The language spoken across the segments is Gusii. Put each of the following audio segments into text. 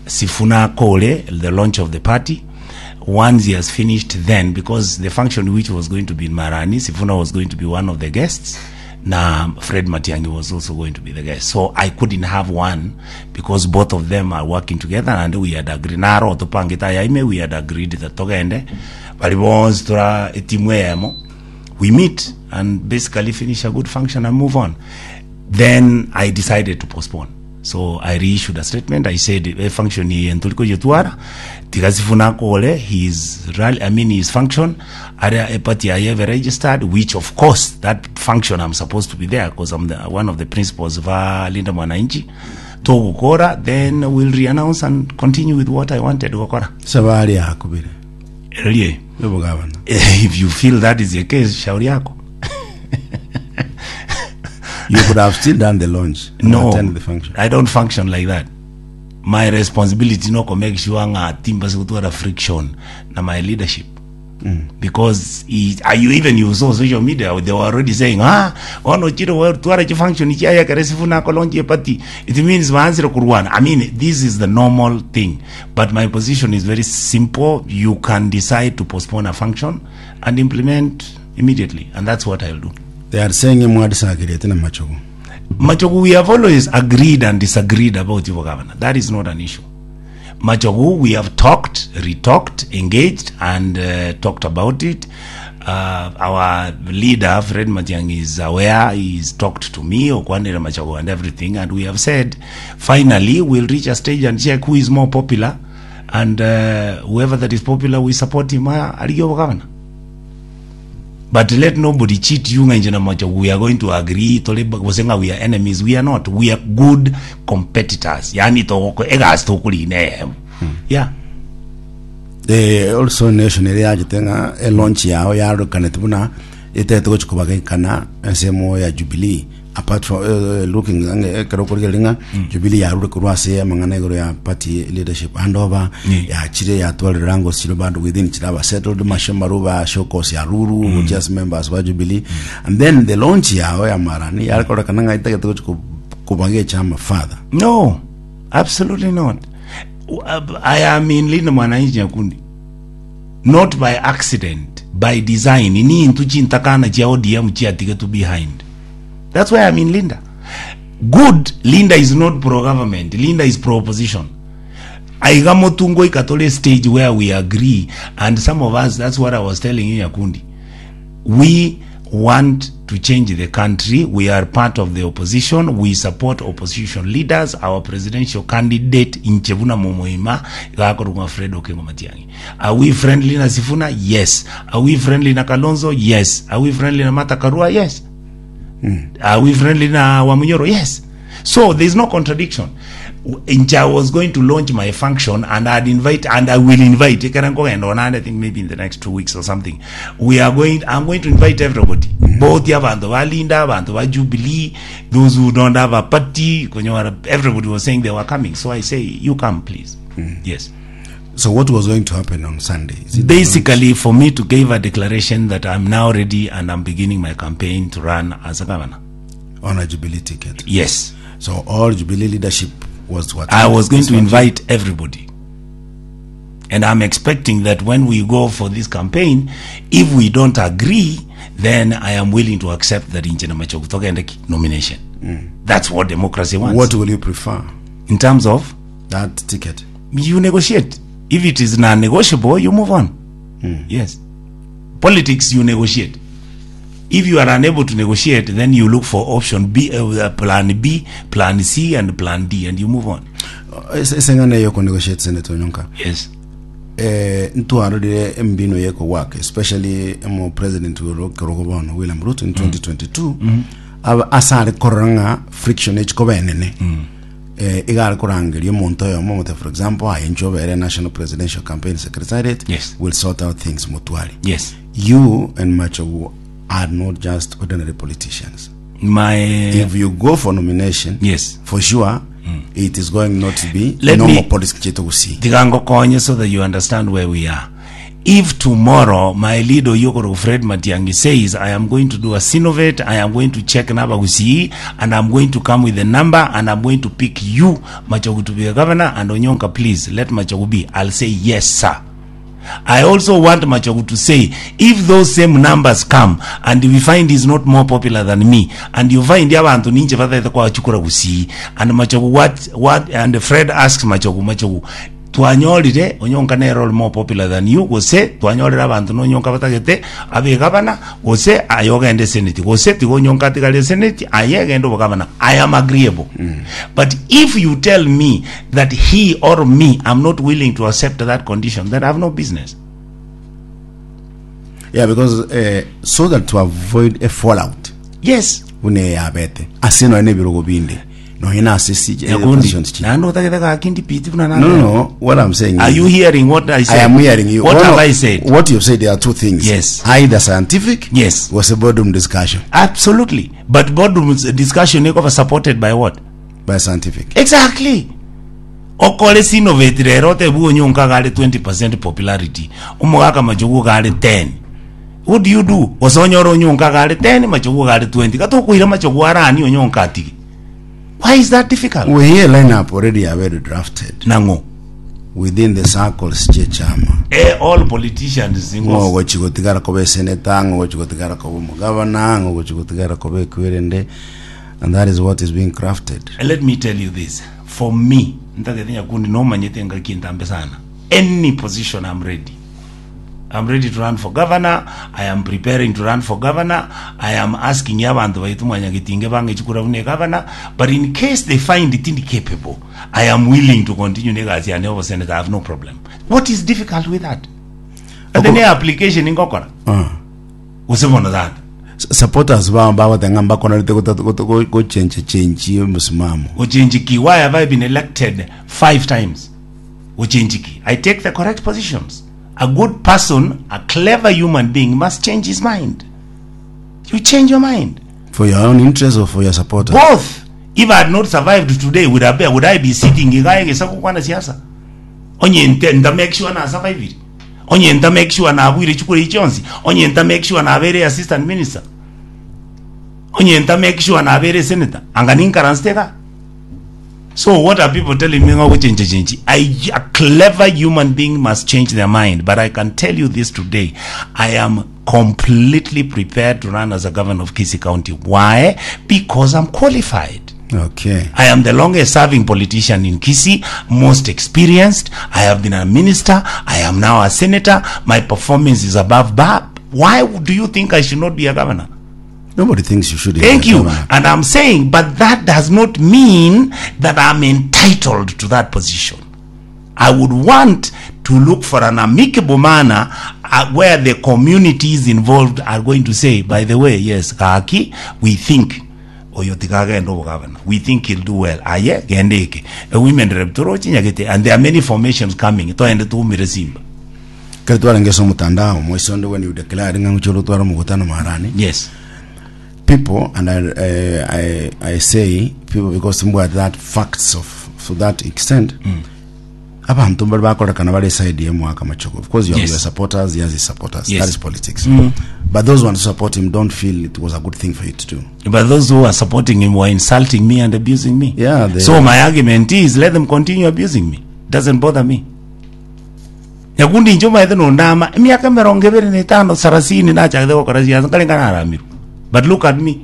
Sifuna akore the launch of the party. Once he has finished then, because the function which was going to be in Marani, Sifuna was going to be one of the guests, na Fred Matiang'i was also going to be the guest. So I couldn't have one because both of them are working together and we had agreed. Naro topangete ayaime, we had agreed that togende, bari bonsi tora etimu eyemo, we meet and basically finish a good function and move on. Then I decided to postpone. So I reissued a statement. I said e function eye ntori koyetwara tiga Sifuna akore his rally, I mean his function aria e party yaye ebe registered which of course that function I'm supposed to be there because I'm the, one of the principals ba Linda Mwananchi togokora then we'll re-announce and continue with what I wanted gokora Sabari yakubire Erie yobogabana if you feel that is the case shauri yako You could have still done the launch and no attend the function. i don't function like that my responsibility no ko make sure ng'a timbase gotwara friction na my leadership because i, are you even you saw social media they were already saying ah ono chiro we twara chi function chiaya kare sifuna ko launch party it means baansire kurwana i mean this is the normal thing but my position is very simple you can decide to postpone a function and implement immediately and that's what i'll do They are saying mwadisagerete na Machogu. Machogu, we have always agreed and disagreed about Ivo Governor. That is not an issue. Machogu, we have talked, retalked, engaged, and uh, talked about it. Uh, our leader, Fred Matiang'i, is aware. He's talked to me, Okwanire Machogu, and everything. And we have said, finally, we'll reach a stage and check who is more popular. And uh, whoever that is popular, we support him. Uh, Ariyo Governor. But let nobody cheat you ng'a inche na Machogu we are going to agree tore gose ng'a we are enemies we are not we are good competitors yani togoko egasi tokorina eyemo yeah Eh, also nation ere yachete ng'a elaunch yao yarokanete buna etete gochi kobagekana ensemo ya Jubilee apart from eh, looking ng'a ekero okorigereria ng'a Jubilee yarure korwa ase amang'ana igoro ya party leadership handover Yeah. yachire yatwarire rango chire bado within chire aba settled masho ba shokosi aruru just members ba Jubilee and then the launch yao ya marani yakorekana ng'a etagete gochi ko- kobaga echama further no absolutely not I am in Linda Mwananchi Nyakundi not by accident by design nintu chintakana chia ODM chiatigetwe behind that's why I'm in Linda good Linda is not pro government Linda is pro opposition aiga motungo ikatole stage where we agree and some of us that's what I was telling you Nyakundi we want to change the country we are part of the opposition we support opposition leaders our presidential candidate inche buna momoima gakorwa Fred Okengo Matiang'i are we friendly na Sifuna yes are we friendly na Kalonzo yes are we friendly na Martha Karua yes are we friendly na Wamunyoro yes so there's no contradiction Inche I was going to launch my function and I'd invite and I will invite ekere nkogenda onande I think maybe in the next 2 weeks or something we are going I'm going to invite everybody both abanto ba Linda abanto ba Jubilee those who don't have a party konyora everybody was saying they were coming so I say you come please yes so what was going to happen on Sunday Is it the basically for me to give a declaration that I'm now ready and I'm beginning my campaign to run as a governor launch on a Jubilee ticket yes so all Jubilee leadership was to attend I was going this to function? invite everybody. And I'm expecting that when we go for this campaign, if we don't agree, then I am willing to accept that inche na Machogu togende ki- nomination. That's what democracy wants. what will you prefer In terms of, that ticket you negotiate. If it is non-negotiable, you move on. Yes. Politics, you negotiate. If you are unable to negotiate, then you look for option B, plan B, plan C, and plan D, and you move on. Ase ase eng'ana eye okonegotiate Senator Onyonka Yes. eh, ntwarorire embino yekogwaka especially emo president wero kerogo bono William Ruto in 2022 aba asare korora ng'a friction echikoba enene eh, iga are korangeria omonto oyomo omote for example aye inche obere national presidential campaign secretariat Yes. will sort out things motware Yes. you and Machogu are not just ordinary politicians My if you go for nomination Yes. for sure it is going not to be Let normal me- politics chetu gusii tiga ngokonye so that you understand where we are. If tomorrow my leader oyio okorokwa Fred Matiang'i says I am going to do a Synovate, I am going to check nabagusii and I'm going to come with a number and I'm going to pick you Machogu to be a governor and Onyonka please let Machogu be, I'll say yes sir. I also want Machogu to say if those same numbers come and we find he's not more popular than me and you find abanto ninche batagete koachukura gusii and Machogu what, what and Fred asks Machogu Machogu Twanyorire onyonka nere ore more popular than you, gose twanyorire abanto nonyonka batagete abe egavana, gose aye ogende eseneti, gose tiga onyonka atigare eseneti, aye genda obogavana. I am agreeable. But if you tell me that he or me am not willing to accept that condition, then I have no business. Yeah, because eh, so that to avoid a fallout Yes. buna eyabete ase nonya na ebirogo binde Nonya nase si eh, Nyakundi, positions chi. naende otagete gaki ndipiti buna No, no, no. What I'm saying Are is, you hearing what I said? I am hearing you. What One have of- I said? What you've said, there are two things. Yes. Either scientific. Yes. Was a boardroom discussion Absolutely. But boardroom discussion ekoba supported by what? by scientific. Exactly. Okore sinovate rero otebi onyonka gare 20% popularity. Omogaka machogu gare 10. What do you do? Gose onyore onyonka gare 10 machogu gare 20. Gatokoira machogu arani onyonka atige. Why is that difficult? We hear lineup already already drafted Nang'o? within the circles chiechama. Eh, all politicians Ng'o ng'o ogochi gotigara koba eseneta, ng'o ogochi gotigara koba omogavana, ng'o ogochi gotigara koba ekwerende, and that is what is being crafted. Let me tell you this. For me, ntagete nyakundi nomanyete ngaki entambe sana. Any position I'm ready. I'm ready to run for governor, I am preparing to run for governor, I am asking abanto baito mwanyagetinge bange chikura buna egavana, but in case they find it incapable, I am willing to continue negasi yane oboseneta, I have no problem. What is difficult with that? Ate ne application ngokora. Ah. Gose bono tata. Supporters bao bagoteba ng'a mbakonorete gochencha chenchi omosimamo. Gochenchi ki? Why have I been elected five times? Gochenchi ki? I take the correct positions. A good person, a clever human being must change his mind. You change your mind. For your own interest or for your supporters? Both. If I had not survived today, would I be, would I be sitting iga egesa gokwana siasa? Onye nte nta make sure na survive. Onye nta make sure na abuire chikura echi chionsi. Onye nta make sure na abere assistant minister. Onye nta make sure na abere senator. Anga ninkaransete iga. So what are people telling me ng'a gochencha chenchi? A, a clever human being must change their mind. But I can tell you this today. I am completely prepared to run as a governor of Kisii County. Why? Because I'm qualified. Okay. I am the longest serving politician in Kisii, most experienced. I have been a minister. I am now a senator. My performance is above bar. Why do you think I should not be a governor? Nobody thinks you should. Thank you. Governor. And I'm saying, but that does not mean that I'm entitled to that position. I would want to look for an amicable manner uh, where the communities involved are going to say, by the way, yes, Gaki, we think oyo tikagenda obogavana we think he'll do well aye genda eke A women rep torochi nyagete and there are many formations coming toende tuumire simba Kare twarenge ase omotandao moise onde when you declared ng'a ngochia orotware omogutano marani yes people and I, uh, I, I say people because mbwate that facts of to that extent mm. abantu mbari bakorekana bari side ya mwaka machogo of course you have Yes. your supporters he has his supporters Yes. that is politics but those ones who support him don't feel it was a good thing for you to do But those who are supporting him were insulting me and abusing me. Yeah, they- So my argument is let them continue abusing me. Doesn't bother me. Nyakundi inche omaete nondama emiaka emerongo ebere na etano sarasini nachagete gokora siasa nkare nkararamirwe. But look at me.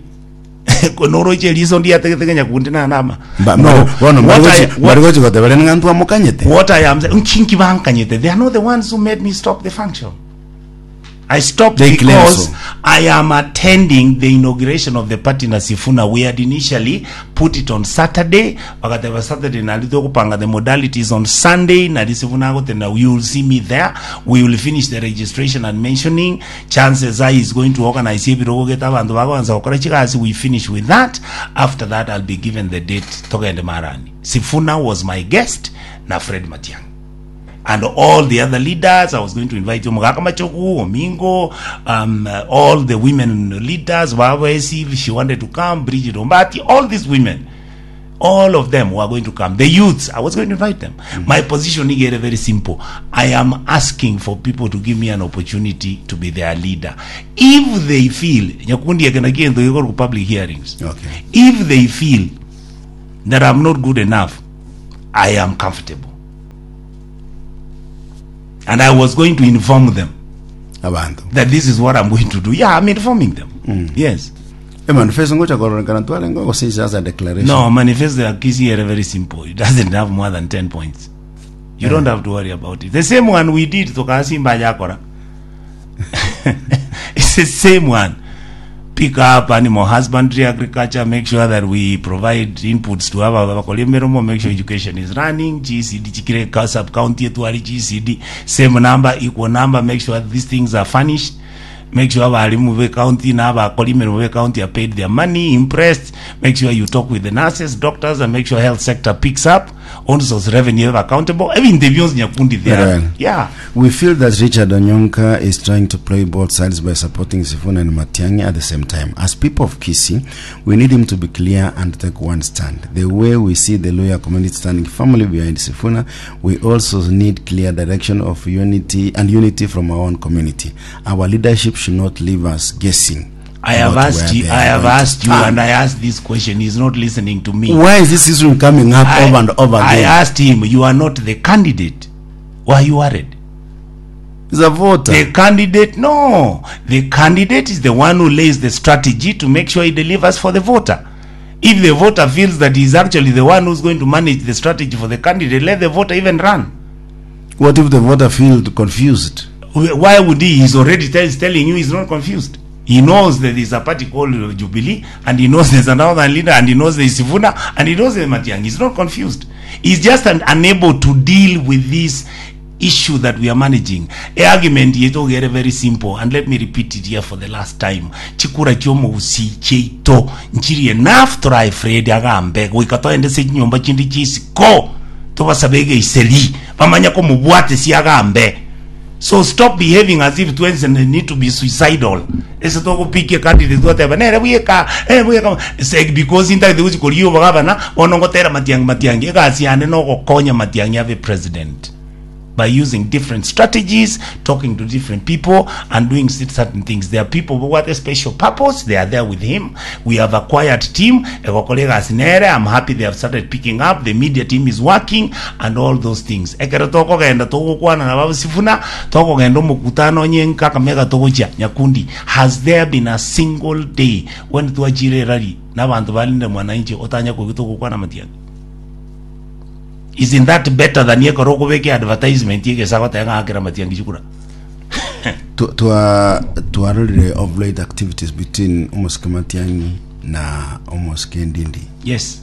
Noroche eriso ndiategete nyakundi nanama. Ba- No, bono what I, bari what, gochi gotebera ng'a ntwamokanyete what I am saying, nkinki bankanyete. They are not the ones who made me stop the function. I stopped They claim because so. I am attending the inauguration of the party na Sifuna. We had initially put it on Saturday. Wakateba Saturday nali tokupanga the modalities on Sunday. Nali Sifuna agotena you will see me there. We will finish the registration and mentioning. Chances are he's going to organize ebirogo geta abanto bagoanza gokora chigasi. We finish with that. After that I'll be given the date togende marani. Sifuna was my guest na Fred Matiang'i and all the other leaders. I was going to invite Omogaka Machogu, Omingo, um, uh, all the women leaders, Wawesi, if she wanted to come, Bridget Ombati, all these women. All of them were going to come. The youths, I was going to invite them. My position is very simple. I am asking for people to give me an opportunity to be their leader. If they feel, Nyakundi eke naki egento gekorwa public hearings. Okay. If they feel that I'm not good enough, I am comfortable. And I was going to inform them Abanto. that this is what I'm going to do. Yeah, I'm informing them. Yes. Emanifesto ngocha kororekana twarenge gose is just a declaration. No, manifesto ya Kisii are very simple. It doesn't have more than 10 points. You don't have to worry about it. The same one we did tukasimba jakora. It's the same one. Pick up animal husbandry, agriculture, make sure that we provide inputs to our bakoli miromo, make sure education is running, GCD, chikire ka sub county yetu GCD, same number, equal number, make sure these things are furnished. Make sure abalimu be county na abakori emeremo be county are paid their money, impressed. Make sure you talk with the nurses, doctors, and make sure health sector picks up. Own source revenue ebe accountable. Ebinto ebionsi nyakundi there. Very well. Yeah. We feel that Richard Onyonka is trying to play both sides by supporting Sifuna and Matiang'i at the same time. As people of Kisii, we need him to be clear and take one stand. The way we see the Luhya community standing firmly behind Sifuna, we also need clear direction of unity and unity from our own community. Our leadership should not leave us guessing. I have about asked where you, they I are have going to asked you, stand. and I asked this question. He's not listening to me. Why is this issue coming up I, over and over I again? asked him, you are not the candidate. Why are you worried? He's a voter. The candidate, no. The candidate is the one who lays the strategy to make sure he delivers for the voter. If the voter feels that he's actually the one who's going to manage the strategy for the candidate, let the voter even run. What if the voter feels confused? Why would he? He's already tell, telling you he's not confused. He knows that there's a party called Jubilee, and he knows there's another leader, and he knows there's Sifuna, and he knows there's Matiang'i. He's not confused. He's just unable to deal with this issue that we are managing. A argument yetu gere very simple, and let me repeat it here for the last time. Chikura chiomo usi cheito nchiri enough try Fred agambe goika toende se nyomba chindi chisiko tobasabege iseri bamanya ko mubwate siagambe. So stop behaving as if twins need to be suicidal. Ese togopikia candidate twateba nere bweka eh bweka say because inta the uzi bagabana ono ngotera Matiang'i Matiang'i egasi yane no gokonya Matiang'i abe president by using different strategies, talking to different people, and doing certain things. There are people who have a special purpose. They are there with him. We have a quiet team. Egokora egasi nere. I'm happy they have started picking up. The media team is working and all those things. Ekero tokogenda togokwana na babu Sifuna, tokogenda omokutano onye Kakamega togochia Nyakundi. Has there been a single day when twachire rally n'abantu balinde mwananchi otanya kogi togokwana Matiang'i? Isn't that better than yekoro okobeka advertisement yegesa goteba ng'a akera Matiang'i chikura? Twarorire of late activities between Omosike Matiang'i na Omosike Ndindi. Yes.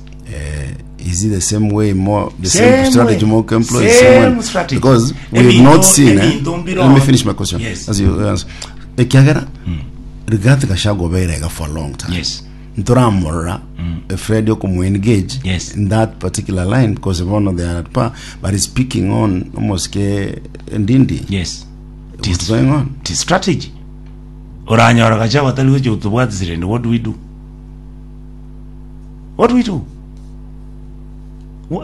Is it the same way, more the same, Same strategy way. more employ Same same way? strategy. Because we've Ebinto- not seen ebinto mbiro- Let me finish my question. Yes. As you answer. Ekiagera Rigathi Gachagua obeire for a long time. Yes. Ntoramorora Fred okomu engage Yes. in that particular line because bono they are at par, but he's speaking on Omosike Ndindi. Yes. What's going on? It is strategy. Oranyora Gachagua tari gochia gotobwatisire, what do we do? What do we do?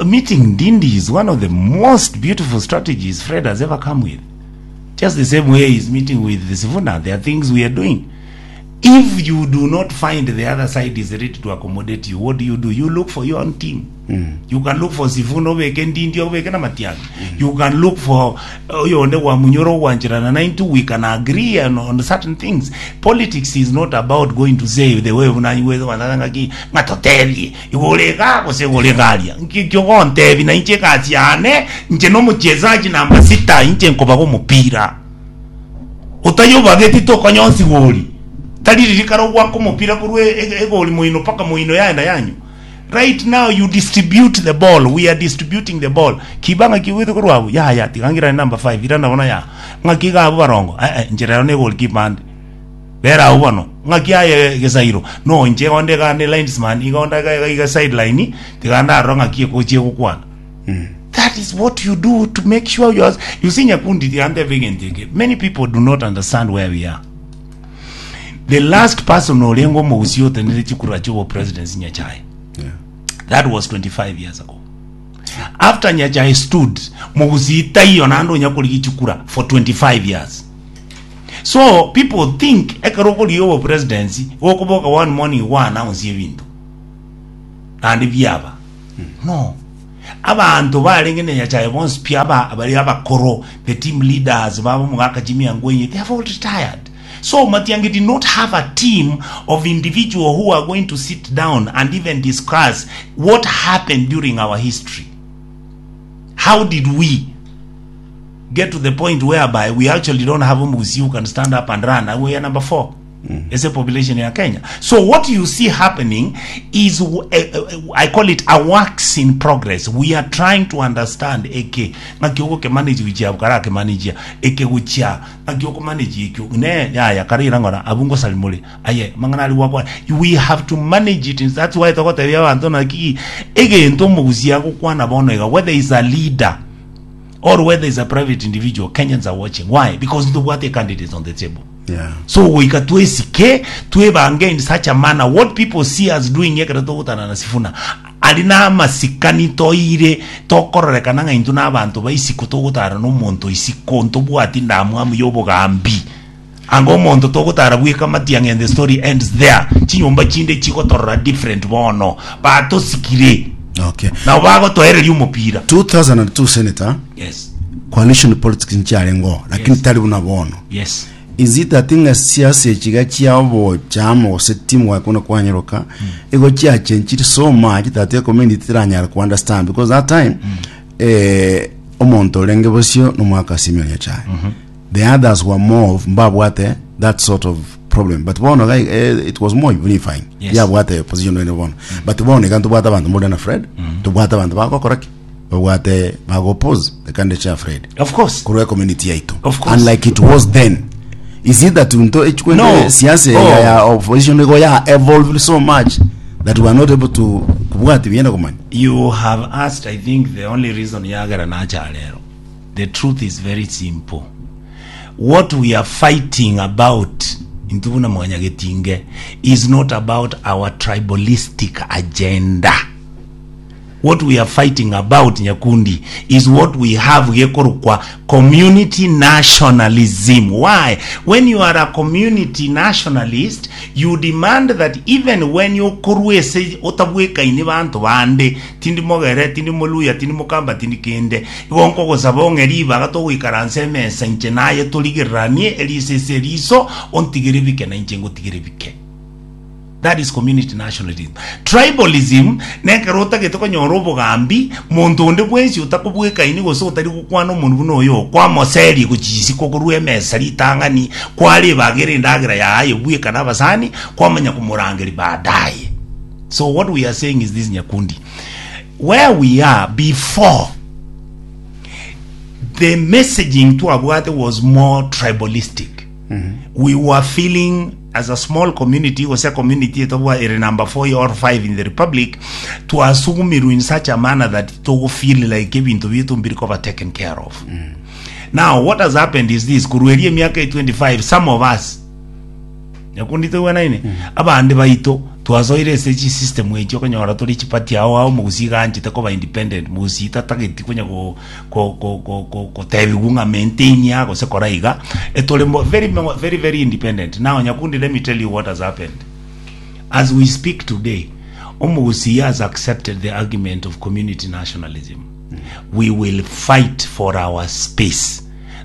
Meeting Ndindi is one of the most beautiful strategies Fred has ever come with. Just the same way he's meeting with the Sifuna. There are things we are doing. If you do not find the other side is ready to accommodate you, what do you do? You look for your own team. You can look for Sifuna obeke Ndindi obeke na Matiang'i. You can look for oyonde wa Munyoro wanchirana 92. We can agree on certain things. Politics is not about going to say the way unaiwe wanangaki ngatoterie igorega gose goregaria nkikyo gontebi na inche kasiane nche no mchezaji namba 6 inche nkobago mupira utayobageti tokonyonsi gori taririkara gwako mupira kurwe egori moino paka moino yaenda yanyu. Right now you distribute the ball. We are distributing the ball. Kibanga kiwithe kurwabu ya ya tigangira number 5 irana bona ya ng'aki gabu barongo njira ne goalkeeper ande bera ubono ng'aki aye gesairo no nche gonde gande linesman igonda ga ga sideline tiganda ro ng'aki kochie gokwana. That is what you do to make sure you are, you see Nyakundi the under Many people do not understand where we are. The last person orengo mousio tenere chikura chuo presidency Nyachae. Yeah. That was 25 years ago. After Nyachae stood, Mogusii taiyo naende onya korigia chikura for 25 years. So people think ekero okorigia obopresidency gokoboka one morning gwa announce ebinto naende biaba. No. Abanto barenge na Nyachae bonsi pi aba bari abakoro, the team leaders babo omogaka Jimmy Angwenyi, they have all retired. So Matiang'i did not have a team of individual who are going to sit down and even discuss what happened during our history. How did we get to the point whereby we actually don't have Omugusi who can stand up and run? And we are number 4. As a population in Kenya. So what you see happening is, I call it a works in progress. We are trying to understand eke ng'aki ogokemanage gochia abwo karakemanage eke gochia Naki okomanage ekio ne yaya kare ira ng'ora abwo ngosari more aye amang'ana aria gwakwana we have to manage it that's why togotebia abanto naki egento omogusia agokwana bono iga whether is a leader or whether is a private individual Kenyans are watching why because ntobwate candidates on the table Yeah. so goika twesike twebange in such a manner what people see us doing ekero togotana na Sifuna Aria namasikani toire tokororekana ng'a intwe nabanto ba isiko togotara nomonto isiko ntobwati ndamwamu y'obogambi. Anga omonto togotara bweka matiang'i and the story ends there. Chinyomba chinde chigotorora different bono. Batosikire. Okay. Nabo bagotoereria omopira. 2002 senator Yes. coalition politics nchiarengo lakini Yes. tari buna bono Yes. Is it that ng'a siasa echi iga chia obochama gose team work buna kwanyeroka igo chiachenchiri so much that ecommunity teranyara ku understand because that time eh, omonto orenge bosio nomwaka Simeon Nyachae the others were more of mbabwate that sort of problem but bono iga eh, it was more unifying Yes. yabwate position ene bono but bono iga ntobwate abanto more na Fred tobwate abanto bagokora ki babwate bago oppose the candidature ya Fred Of course. korwa community yaito Of course. unlike it was then is it that nto echikwende No. siasa Oh. ya ya opposition igo ya evolved so much that we are not able to kubwati bienda kumanya You have asked, I think, the only reason yagera nacha lero. The truth is very simple. What we are fighting about intwe buna mwanyagetinge is not about our tribalistic agenda. What we are fighting about Nyakundi is what we have gekorokwa community nationalism. Why? When you are a community nationalist, you demand that even when okorwa ase otabwekaini banto bande, tindi mogere, tindi moluya, tindi mokamba, tindi kende, igo nkogosaba ong'e ribaga togoikaransa emesa inche naye torigereranie eriso ase eriso, ontigere bike na inche ngotigere bike. That is community nationalism. Tribalism nekero otagete konyora obogambi, monto onde bwensi otakobwekaini gose otari gokwana omonwe buna oyo, kwamoseria gochia isiko korwa emesa ritang'ani, kwarebagera endagera yaye bweka na abasani, kwamanya komorangeria baadaye. So what we are saying is this Nyakundi, where we are before the messaging twabwate was more tribalistic we were feeling as a small community gose community etobwa ere number 4 or 5 in the republic twasugumirwe in such a manner that togo feel like ebinto bietu mbiri koba taken care of now what has happened is this korwa eria emiaka e 25 some of us Nyakundi toigwanaine? Abande baito twasoire ase chisystem echi okonyora tore chiparty ao ao mogusii iga anchete koba independent mogusii tatageti konya go go go go go gotebigwa ng'a maintain iga gose kora iga etore mo very mo very very independent. Now Nyakundi let me tell you what has happened. As we speak today, omogusii has accepted the argument of community nationalism. We will fight for our space.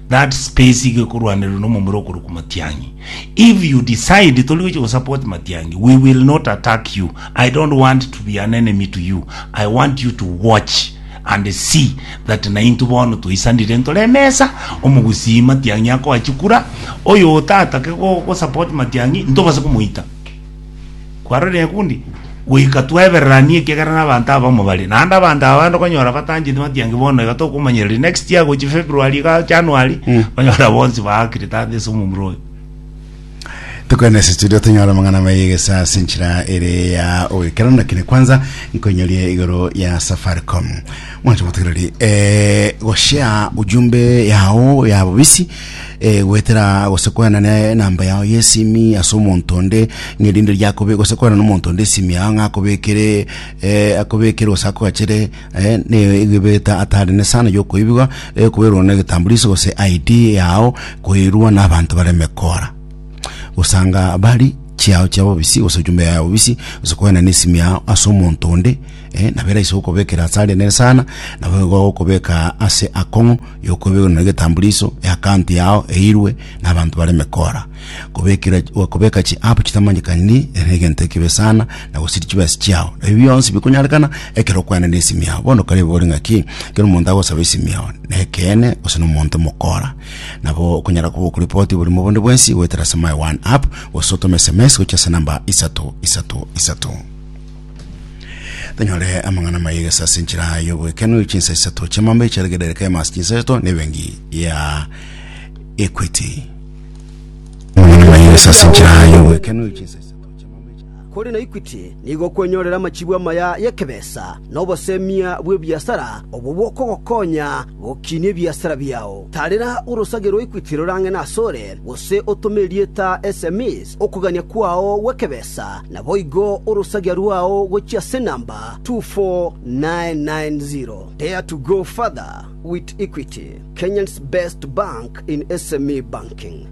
That space iga ekorwanererwa nomomura okorokwa Matiang'i. If you decide tori gochia gosupport Matiang'i, we will not attack you. I don't want to be an enemy to you. I want you to watch and see that naintwe bono twaisanire ntore emesa, omogusii Matiang'i akoa chikura, oyo otatake go gosupport Matiang'i ntobase komoita. Kwarorire nyakundi? Goika twebereranie ekiagera nabanto abamo bare. Naende abanto aba bande okonyora batancheti matiangi bono iga tokomanyereria next year gochia February iga January, okonyora bonsi baakire tata ase omomura oyo. Tokwane ase studio tonyore amang'ana amaya egesa ase enchera ere ya ogoikeranu lakini kwanza nkoinyorie igoro ya Safaricom mwanche motegereri eh, goshare ujumbe yao ya bobisi. Eh, goetera gose koenana enamba yao y'esimi ase omonto onde ng'a erinde riakobe gose koenana omonto onde esimi yao ng'a akobekere eh, akobekere gose akogachere eh, ne egebeta atarene sana yokoibigwa eh, koberwa na egetambuliso gose ID yao koirwa na abanto bare emekora gosanga bari chiao chia bobisi gose ujumbe yao bobisi gose koenana esimi yao ase omonto onde eh, nabo eraise gokobekera ase arenene sana nabo igo gokobeka ase akong'u yokobekwa na egetambuliso eaccount yao eirwe na abanto bare emekora kobekera kobeka chi app chitamanyekani ere egento ekibe sana na gosiri chibesa chiao ebi bionsi bikonyarekana ekero okwana na esimi yao bono karebe ore ng'aki ekero omonto agosaba esimi yao na ekeene gose na omonto omokora nabo okonyara koba okoripoti oborimo bonde bwensi goetera ase my one app gose otome sms gochia ase namba isato isato isato. Tonyore amang'ana amaya egesa ase enchera y'oboekenu chinsa isato chiamambe chiaregerereka emasi chinsa isato nebengi ya Equity. Amang'ana amaya egesa ase enchera y'oboekenu chinsa isato chiamambe Kore na Equity nigo okwenyorera amachibu amaya y'ekebesa na obosemia bw'ebiasara obwo bokogokonya gokinia ebiasara biao. Tarera orosage rwa Equity rorang'e nasore, gose otome erieta SMEs okogania kwao gw'ekebesa Naboigo orosagia rwao gochia ase enamba 24990. Dare to go further with Equity, Kenya's best bank in SME banking.